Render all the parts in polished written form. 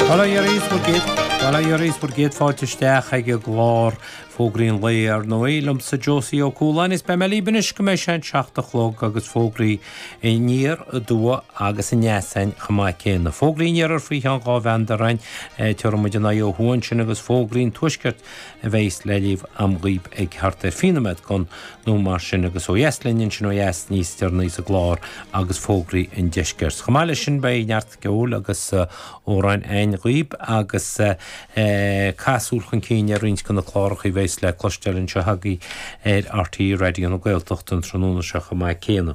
Bail ó Dhia oraibh bhur gcéad, bail ó Dhia oraibh bhur gcéad fáilte isteach ag an gclár Fógraí an Lae, ar ndóigh, liomsa Josie Ó Cualáin is beidh mé libh anois go mbeidh sé an 7 a chlog agus fógraí aniar aduaidh agus aneas againn chomh maith céanna. Fógraí an iarthair faoi cheann 2 bheandair againn, tabharfaidh muid an aghaidh ó thuaidh ansin agus fógraí an tuaiscirt a bheas le léamh a'm dhaoib ag thart ar 20 nóiméad gon nó mar sin agus ó dheas linn ansin ó dheas níos deireanaí sa gclár agus fógraí an deiscirt. Chomh maith leis sin beidh neart ceoil agus amhráin againn dhaoib agus caith súil chun cinn ar roinnt de na cláracha a bheas le cloisteáil anseo agaibh ar RTÉ Raidió na Gaeltachta an tráthnóna seo chomh maith céanna.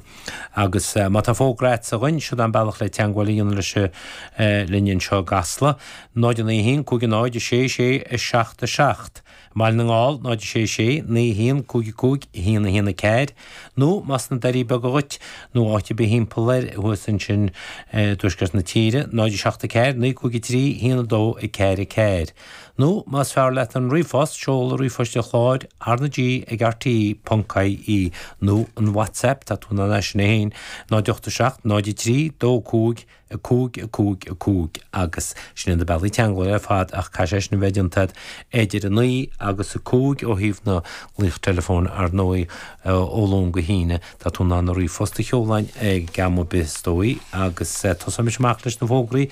Agus má tá fógra agatsa dhuinn, siod an bealach le teagmháil a dhéanamh leis linn anseo i gCasla, 0 9 1 5 0 6 6 7 7. I mBaile na nGall, 0 6 6 9 1 5 5 1 1 4, nó más sna Doirí Beaga dhuit, nó áit ar bith thimpeall air thuas ansin i dtuaisceart na tíre, 0 7 4 9 5 3 1 2 4 4. Nó más fearr leat an ríomhphost, seoladh ríomhphoist an chláir, RnaG ag rte ponc ie, nó an WhatsApp, tá tú in ann é sin é féin, 0 8 7 0 3 2 5 5, 5, 5 agus sin iad na bealaí teagmhála ar fad ach caithfidh sé sin a bheith déanta agat idir 9 agus 5 ó thaobh na nglaoch teileafóin ar ndóigh ó Luan go hAoine. Tá tú in ann an ríomhphost a sheoladh ag am ar bith is dóigh agus tosóimis amach leis na fógraí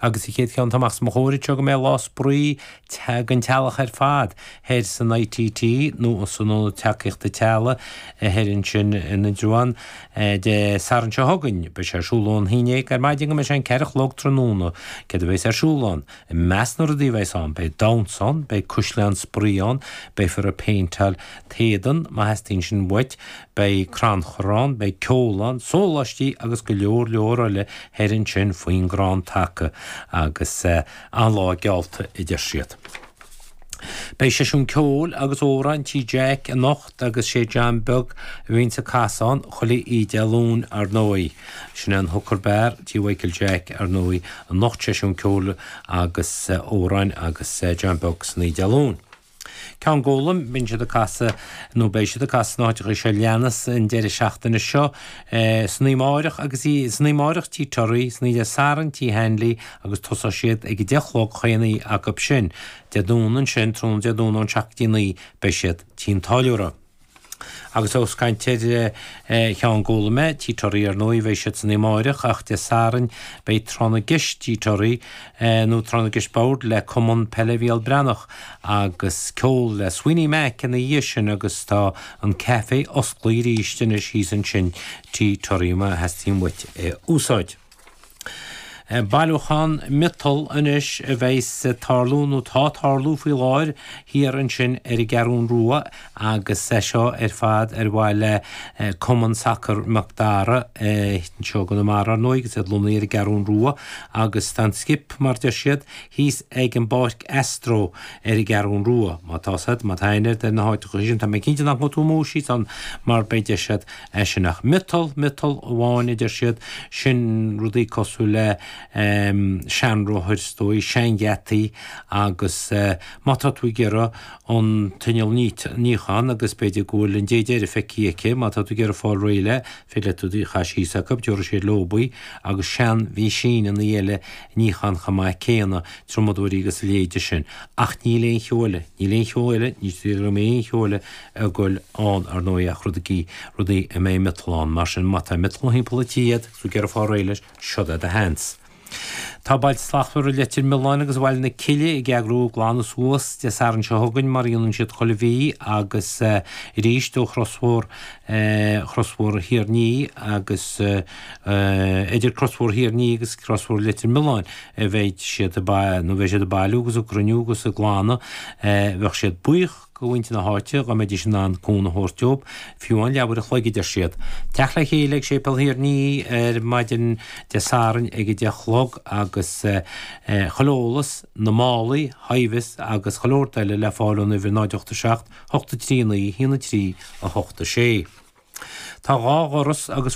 agus an chéad cheann atá amach os mo chomhair anseo go mbeidh lá spraoi don teaghlach ar fad thoir san ITT nó san Ionad Tacaíochta Teaghlaigh thoir ansin in Indreabhán Dé Sathairn seo chugainn. Beidh sé ar siúl ón haon déag ar maidin go mbeidh sé an 4 a chlog tráthnóna. Céard a bheas ar siúl ann? I measc na rudaí a bheas ann, beidh damhsa ann, beidh caisleán spraoi ann, beifear ag péinteáil t-éadan má theastaíonn sin uait, beidh crannchur ann, beidh ceol ann, sóláistí agus go leor leor eile thoir ansin faoin gcrann taca agus an-lá geallta a deir siad. Beidh seisiún ceoil agus amhrán Tí Jack anocht agus sé John Beag a bhíonns ag casadh ann chuile oíche Dé Luain ar ndóigh. Sin é an Hooker Bar, Tí Mhichael Jack ar ndóigh anocht seisiún ceoil agus amhráin agus John Beag san oíche Dé Luain. Ceann Gólaim, bíonn siad ag casadh nó beidh siad ag casadh sna háiteacha seo leanas an deireadh seachtaine seo, san oíche amáireach agus san oíche amáireach Tí Toraí, san oíche Dé Sathairn Tí Hanley agus tosóidh siad ag a 10 a chlog chaon oíche acu sin. Dé Domhnaigh ansin, tráthnóna Dé Domhnaigh ón 7 go dtí 9 beidh siad Tí an Táilliúra. Agus ós caint ar Cheann Gólaim, Tí Toraí ar ndóigh, beidh siad san oíche amáireach ach Dé Sathairn beidh Tráth na gCeist Tí Toraí nó Tráth na gCeist Boird le Cumann Peile Mhícheál Breathnach agus ceol le Sweeney Mac ina dhiaidh sin agus tá an caife osclaithe arís anois thíos ansin Tí Toraí má theastaíonn uait é a úsáid. Bailiúchán miotal anois a bheas ag tarlú, nó tá ag tarlú faoi láthair, thiar ansin ar an gCeathrún Rua agus é seo ar fad ar mhaithe le Cumann Sacair Mac Dara anseo i gConamara, ar ndóigh, agus iad lonnaithe ar an gCeathrún Rua agus tá an skip, mar deir siad, thíos ag an bPáirc Astro ar an gCeathrún Rua. Má tá 's agat, má tá aithne agat ar na háiteacha sin, tá mé cinnte nach ngabhfaidh tú amú síos ann mar beidh deis agat é sin ach miotal, miotal amháin a deir siad, sin rudaí cosúil le seanrothair is dóigh, seangheataí agus má tá tú ag iarraidh an t-inneall níocháin agus b'fhéidir go bhfuil an dé deiridh feicthe aici, má tá tú ag iarraidh fáil réidh léi, féidir leat í a chaitheamh síos acu, tabharfaidh siad leob í agus seanmheaisíneanna eile níocháin chomh maith céanna, triomadóirí agus a leithéide sin. Ach níl aon cheo eile, níl aon cheo eile, ní dóigh go mbeidh aon cheo eile ag goil ann, ar ndóigh, ach rudaí, rudaí a mbeidh miotal ann. Mar sin, má tá miotal thimpeall an tí agat agus tú ag iarraidh fáil réidh leis, siod é do sheans. Tá Bailte Slachtmhara Leitir Mealláin agus Bhaile na Cille ag eagrú glanadh suas Dé Sathairn seo chugainn mar a dhéanann siad chuile mhí agus arís ó chrosbhóthar chrosbhóthar Thír an Fhia agus idir crosbhóthar Thír an Fhia agus crosbhóthar Leitir Mealláin a bheidh siad ag nó bheidh siad ag bailiú agus ag cruinniú agus ag glanadh. Bheadh siad buíoch go mhuintir na háite dá mbeidís in ann cúnamh a thabhairt dóibh, fiú amháin leathuair a chloig, a deir siad. Teacht le chéile ag Séipéal Thír an Fhia ar maidin Dé Sathairn ag 10 a chlog agus chuile eolas, na málaí, hi-vis agus chuile shórt eile le fáil ón uimhir 0 8 7 8 3 9 1 3 8 6. Tá dhá dhoras agus.